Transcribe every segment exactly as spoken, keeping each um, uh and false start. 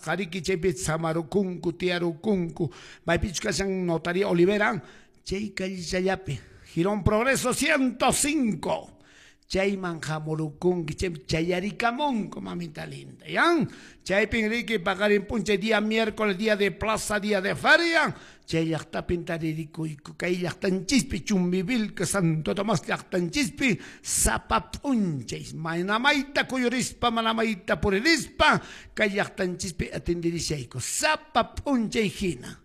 Qariki chaypi samarukunku, tiyarukunku. Maypichu kashan Notaría Olivera, chay callechallapi, Jirón Progreso ciento cinco. Chayman hamurukunki, chay chayarikamunku, mamita linda, ¿ya? Chaypin riki paqarin p'unchay día miércoles, día de plaza, día de feria, chay llaqtapin taririkuyku, kay llaqtanchispi, Chumbivilca, Santo Tomás llaqtanchispi, sapa p'unchay, manamayta kuyurispa, manamayta puririspa, kay llaqtanchispi atendirishayku, sapa p'unchay hina.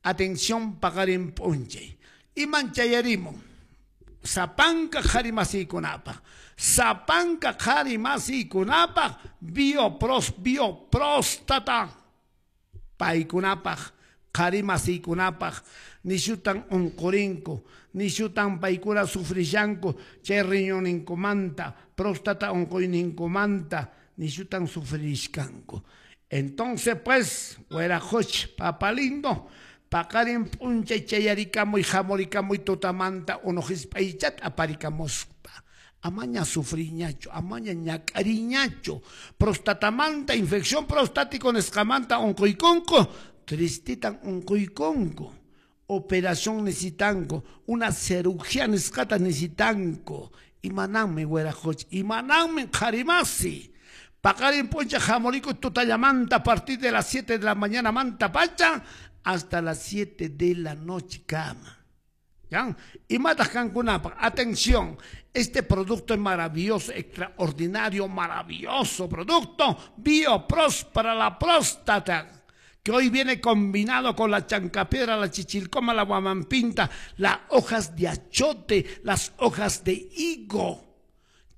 Atención paqarin p'unchay. Iman chayarimun? Sapanka qhari masiykunapaq, sapanka qhari masiykunapaq, biopros, biopróstata paykunapaq, qhari masiykunapaq, nishutan unqurinku, nishutan paykuna sufrishanku, chay riñonninkumanta, próstata unquyninkumanta, nishutan sufrishkanku. Entonces pues, wiraqucha, papa lindo, paqarin p'unchay chayarikamuy, hamurikamuy tutamanta unu hisp'aychata aparikamuspa. Amaña sufriñachu, amaña ñak'ariñachu. Prostatamanta, infección prostático nisqamanta unquykunku, tristitan unquykunku. Operación necesitanku, una cirugía nisqata necesitanku. Imananmi wiraqucha, imananmi qharimasi. Paqarin p'unchay hamuriku tutallamanta a partir de las siete de la mañana manta pacha hasta las siete de la noche cama. ¿Ya? Y matas kankunapaq, atención, este producto es maravilloso, extraordinario, maravilloso producto, Biopros para la próstata, que hoy viene combinado con la chancapiedra, la chichilcoma, la guamampinta, las hojas de achote, las hojas de higo.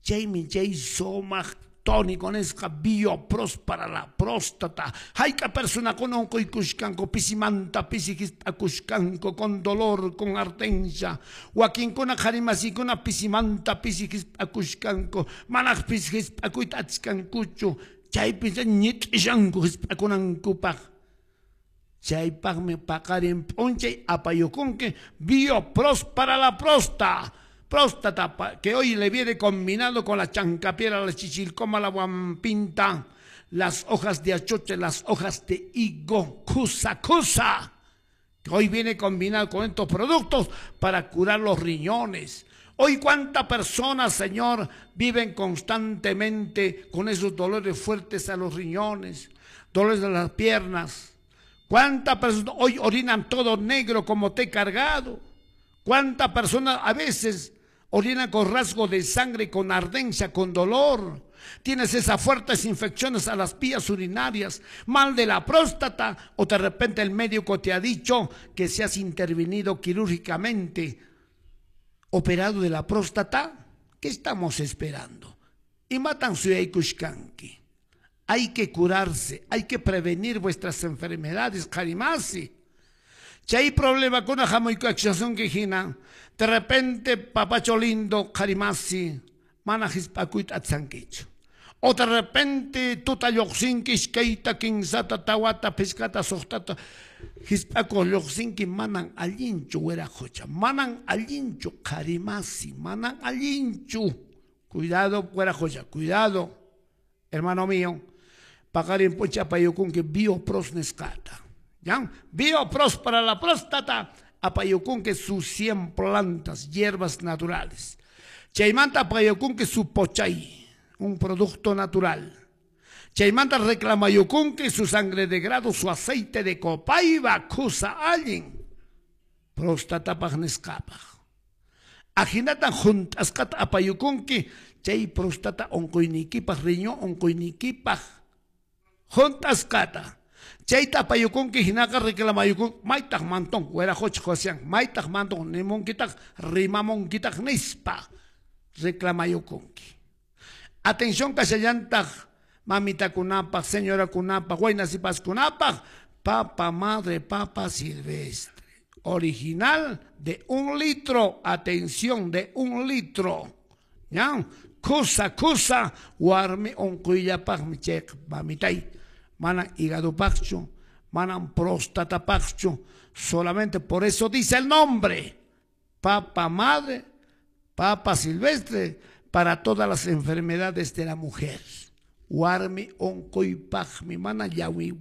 Chaymi chay sumaq tónico nisqa Biopros para la próstata. Hayka personakuna unquykushkanku, pisimanta pisi hisp'akushkanku, con dolor, con ardencia. Wakinkuna qhari masikuna pisimanta pisi hisp'akushkanku, manaqpis hisp'akuyta atiskankuchu, chaypi ñit'ishanku hisp'akunankupaq. Chaypaqmi paqarin p'unchay apayukunki Biopros para la próstata. Próstata, que hoy le viene combinado con la chancapiedra, la chichilcoma, la guampinta, las hojas de achote, las hojas de higo, cusa, cusa, que hoy viene combinado con estos productos para curar los riñones. Hoy cuántas personas, Señor, viven constantemente con esos dolores fuertes a los riñones, dolores de las piernas. Cuántas personas hoy orinan todo negro como té cargado. Cuántas personas a veces orinan con rasgo de sangre, con ardencia, con dolor. Tienes esas fuertes infecciones a las vías urinarias, mal de la próstata, o de repente el médico te ha dicho que seas intervenido quirúrgicamente, operado de la próstata. ¿Qué estamos esperando? Y matan su suyaykushkanki. Hay que curarse, hay que prevenir vuestras enfermedades, qarimasi. Chay problema con la hamuykuakshasunki hina, de repente papacho lindo, qarimasi, mana hisp'akuyta atsankichu. O de repente tuta lluqsinki iskayta, kinsata, tawata, pishkata, suqtata, hisp'akuq lluqsinki, manan allinchu wiraqucha, manan allinchu qarimasi, manan allinchu. Cuidado wiraqucha, cuidado, hermano mío. Paqarin p'unchay apayukunki Biopros nisqata. ¿Ya? Biopros para la próstata, apayukunki sus cien plantas, hierbas naturales. Chaymanta apayukunki su pochay, un producto natural. Chaymanta reclamayukunki su sangre de grado, su aceite de copaiba, kusa allin, próstatapaq nisqapaq. Ahinatan juntasqata apayukunki, chay próstata unquyniykipaq, riñón unquyniykipaq, juntasqata. Chayta apayukunki hinaqa reclamayukun, maytaq mantón, wiraqucha Josian, maytaq mantón, nimunkitaq, rimamunkitaq nispa, reclamayukunki. Atención kashallantaq, mamitakunapaq, señorakunapaq, waynasipaskunapaq, papa madre, papa silvestre. Original de un litro, atención, de un litro. ¿Ya? Kusa, kusa, warmi unquyllapaqmi chayqa, mamitay. Manan hígado paqchu, manan próstata paqchu, solamente por eso dice el nombre, papa madre, papa silvestre, para todas las enfermedades de la mujer. Warmi unquypaqmi, mana llawi